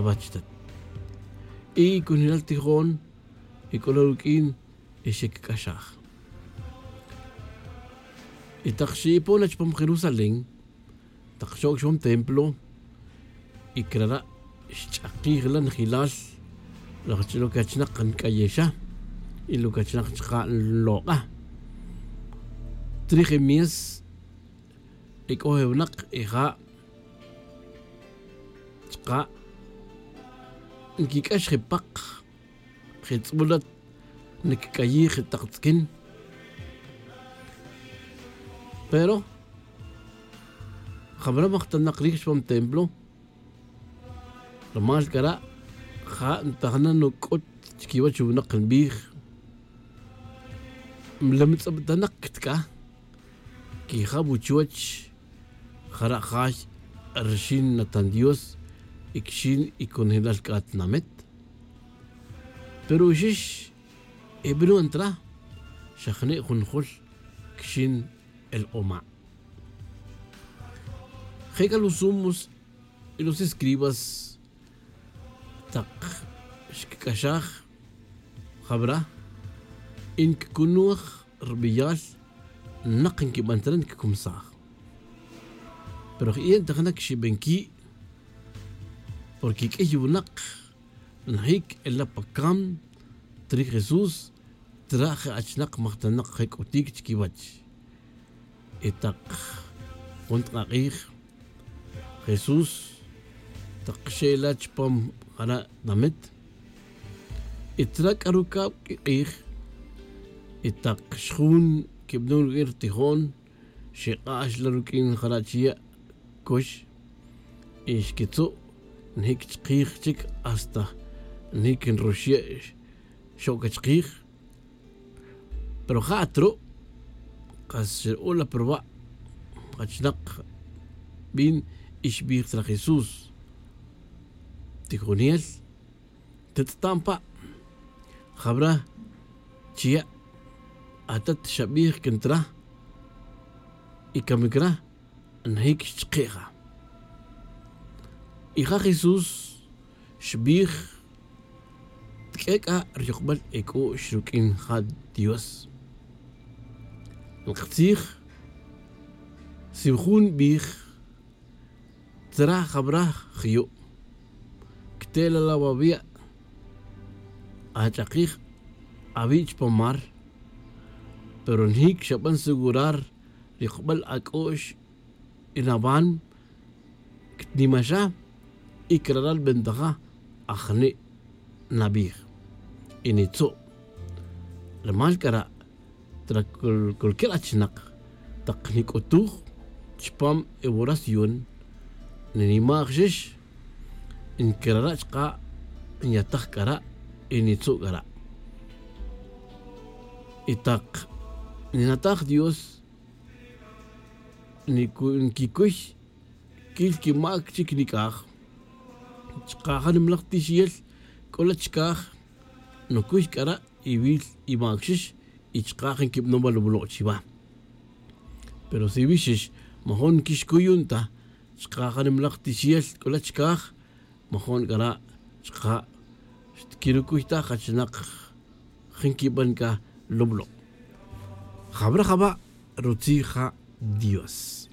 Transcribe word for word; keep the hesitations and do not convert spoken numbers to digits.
Wachtat. Y conjelal tijon y c'o la ruq'uin y xec'axaj. Y tak xe'ipon na chupam jerusalén, tak xoc' chupam templo, y crara' xch'akij la njilal laj chi lo que achinak nc'ayexa y lo que achinak chka' nlok'a. Trij e mies, e c'o e winak e ja' chka' nquic'ax je pak, je tz'ulat, ncic'ayij je tak tz'quin. Pero jabara majtanak rij chupam templo, rumal cara' ja' ntajna nuc'ut chiquiwach winak nbij. Mlemtz'abtanak ctc'a, quijaw chuwach jara' jay rxin natan dios, y cxin y conjelal c'a tnamit. Pero uxix, e bru ntra xa jne' jun jul cxin el oma'. Je c'a los sumos y los escribas tak xc'axaj jabara, y nccunoj rbeyal nak nquiban tere ncccumsaj. Pero je' ntajna cxiben qui', porque q'uiy winak njic ela pa cam trij jesús, traj je achinak majtanak je c'utic chiquiwach. Y tak jun tk'ak'ij jesús, tak xe'ela chupam jara' tnamit, y traj c'a'ru cab q'uik'ij. Y tak xjun quibnon ruq'uin rtijon, xek'ax la ruq'uin jara' chiya' cux, y xquitzu' njic chkij chic hasta njic nroxye' xoc' chkij. Pero ja' at ru' kas xru'ul la pa ruwa' jachnak bin, y xbij tzra jesús: tijonel, tetz'tan pa', jabara chiya' atat xabij can tra, y camic ra njic xchke' ja. Y ja jesús xbij: tq'ue' c'a ryukbal e c'u'x ruq'uin ja dios. Nktzij, si jun nbij: tzra jabara jyu', cte' la la wawi', ach'akij awi' chupan mar. Pero njic xaban segurar ryukbal ac'u'x, y nawan ctnimaxa, y crara' nbentaja ajni' nabij, y nitzu'. Rumal c'ara' tra cualquier achinak tak nic'utuj chupam e woración, ninimajxix, ncrara' chka' nyataj c'ara', y nitzu' c'ara'. Y tak ninataj dios, nquicuy quil quimac chic nic'aj, chka' ja nimalaj tixiyel c'o la chkaj nucuy c'ara', y wil y macxix, y chka' ja nquibanon wal wulok' chiwa. Pero si wixix majun nquixcuy yun ta chka' ja nimalaj tixiyel c'o la chkaj, majun c'ara' chka' xtquirucuy ta jachinak ja nquiban c'a lublo'. Jabara jaba' rutzij ja dios.